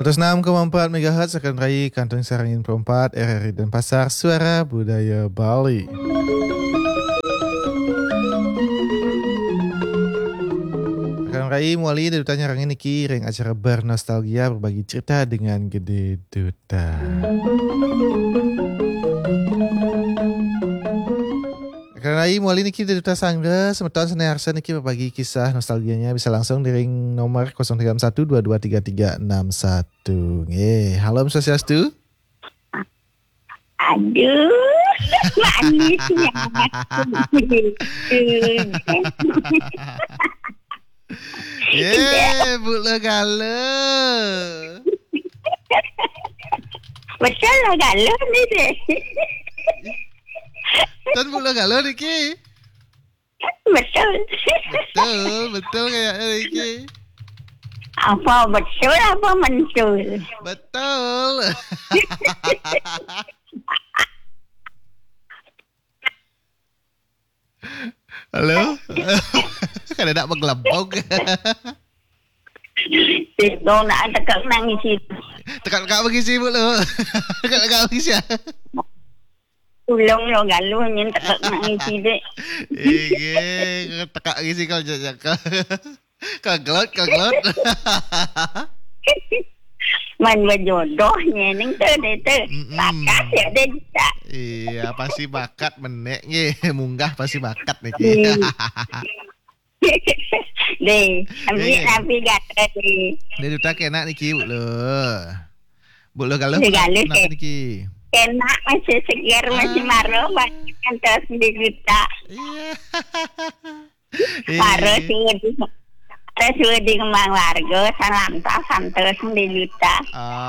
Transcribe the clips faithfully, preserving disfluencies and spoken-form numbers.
Seratus enam koma empat megahertz Akan Rai Kantun Sarangin Perempat, R R I Denpasar, Suara Budaya Bali. Akan Rai muali Dé Duta nyarengin niki ring acara Bernostalgia, berbagi cerita dengan Gede Duta. Akan Rai muali niki Dé Duta Sangga, semeton sane arsa niki berbagi kisah nostalgianya bisa langsung di ring nomor kosong tiga enam satu dua dua tiga tiga enam satu. Nggih, halo Om Swastiastu. Aduh, manisnya. Ye, Bu Lo Galo. Betul lah Galo ni deh. Tan Bu Lo Galo niki. Betul. Betul, betul kayaknya niki. Apa betul apa mentul? Betul. Halo? Kada nak menggelembung. Sibuk nak tekak nangis itu. Tekak-tekak bagi sibuk lo. Tekak-tekak bagi sibuk. Tulung lo Galo nyen tekak nangis itu. Iya, tekak bagi sibuk kalau jajak. Kaglot, kaglot. Man berjodohnya ning tu deh tu. Mm-mm. Bakat ya deh tak. Iya, pasti bakat menek nggih. Munggah pasti bakat niki. Hmm. Deh, ambil Deh. Ambil gata deh. Deh, Duta kena niki, Bu Lo. Bu Lo Galo, Deh, Galo, kenapa deh. Niki? Kena masih segar, masih Ah. Maro, banyak terus di juta. Iya. Para suwedi, para suwedi kembang warga, salam tak santos di juta.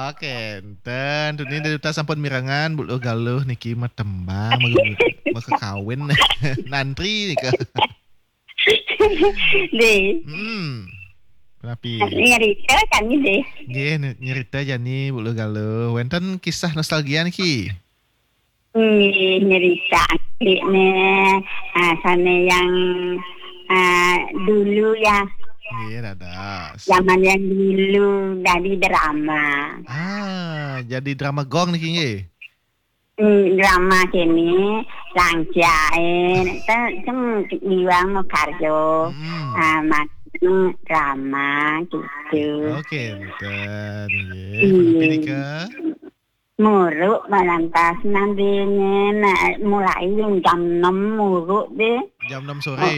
Oke, enten. Tuni Dé Duta sampun mirengang, Bu Lo Galo niki mah tembang, mau, mau kawin. Nantri nika. Deh. Hmm. Kenapa? Nyerita kami deh. Nggih, ny-, nyerita jani, Bu Lo Galo. Wenten kisah nostalgia niki? Nggih, nyerita nggih ne, ah, sane yang, ah, dulu ya. Nggih, dados. Zaman yang dulu dari drama. Ah, jadi drama gong niki nggih? Hmm, drama kene, langcae, te-, teng iwang makarjo. Hmm. Ah, mak-, drama gitu. Oke, enten, nggih. Hmm. Menawi nika? Muruk malantas nandine, nah, mulai jam enam muruk deh. Jam enam sore. Oh.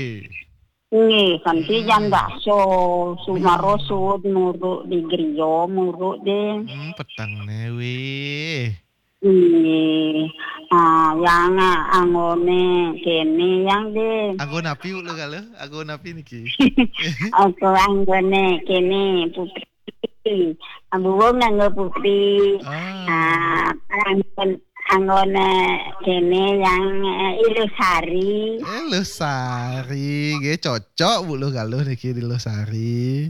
Nggih, kanthi jam Hmm. dasa, sumaro Hmm. suud muruk di griya, muruk deh. Hmm, peteng ne, wih. Nggih. Ah, yang, ah, anggone kene yang deh. Anggo napi, Bu Lo Galo? Anggo napi niki? Apa anggone kene, Putri? Ambuwung nganggo putri. Ah. Ah, anggon-, anggone kene yang, eh, Ilusari. Ilusari, nggih cocok, Bu Lo Galo niki Ilusari.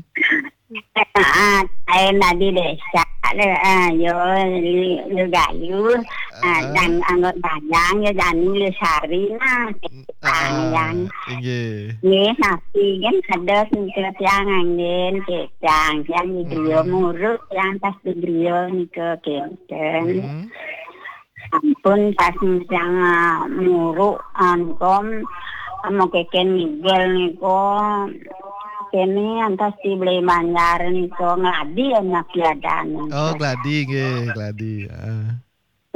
Ah, saya tadi desa, le, ah, yo, Lu-, Lugayu, ah, Ah. dan anggon Bayang, yo, Dani Ilusari, nah. Panjang. Ah, inggih. Nggih, sami kan ada sing tiang anggen, tiang, tiang di griya Hmm. muruk, tiang pas di griya nika kenten. Hmm. Sampun pas tiang, ah, muruk, antum, mau keken ngigel nika, kene antas di Beli Banjar nika ngladi anak piadan. Oh, gladi nggih, gladi. Ah.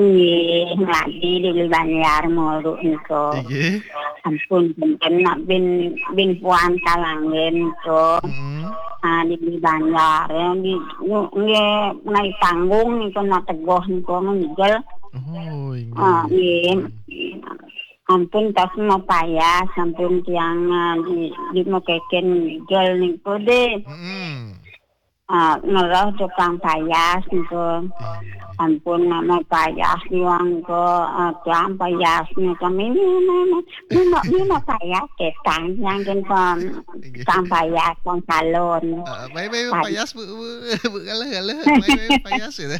Nggih, ngladi di Banjar muruk nika. Nggih. Ampun, punten nak bin, bin puan kalanggen nika. Mm-mm. Ah, di Banjar, ya, di, nggih, naik panggung nika nak teguh nika ngigel. Oh, inggih. Ah, nggih. Ampun, tas mau payas, ampun tiang, ah, di, di mau keken ngigel nika deh. Mm-mm. Ah, ngeroh tukang payas niku. Iya. Ampun, nama payas niku, ah, tukang payas niku. Ini, ini, ini, ini, ini payas ketang yang kan Iya. Tukang payas, tukang salon. Ah, baik, baik, Pay- payas, Bu, Bu, Bu, kalah, kalah. Baik, baik, payas, gitu.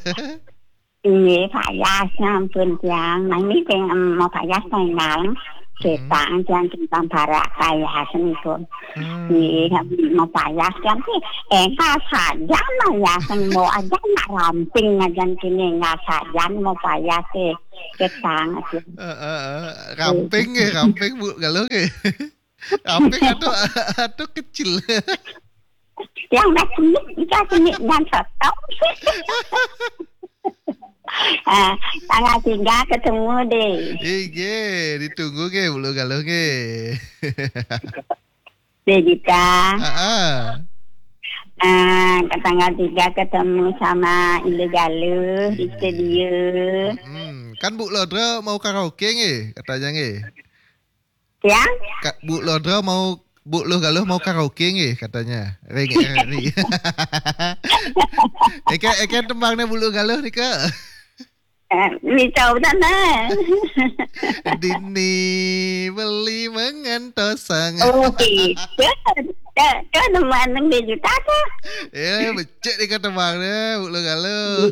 Nggih, payas, ampun, tiang. Nah, ini yang, em, mau payas, pengen. Ketang tiang timpang parak payah seni pun. Hmm. Di mau payah tiang ti enggak sajan mah ya seni mau aja nak ramping aja kini enggak sajan mau payah ti ketang aja. Uh, uh, uh. Ramping ke, ramping Bu Galuh ke. Ramping atau atau kecil. Yang dah seni, kita seni dan sotong. Ah, tanggal tiga ketemu deh. Ige, ditunggu ke Bulu Galuh ke. Deh kita. Ah, ah. Ah, ke tanggal tiga ketemu sama Ilu Galuh di studio. Hmm, kan Bu Lodra mau karaoke nge, katanya nge. Ya? Ka, Bu Lodra mau Bu Luh Galuh mau karaoke nge, katanya. Ring ring. Eke eke tembangnya Bu Luh Galuh nih ke. Eh, bisa udah nah. Dini beli mengentosang. Oh, bisa. Kan mana dia juta tuh. Ya, becek nih ke tembangnya Bu Luh Galuh.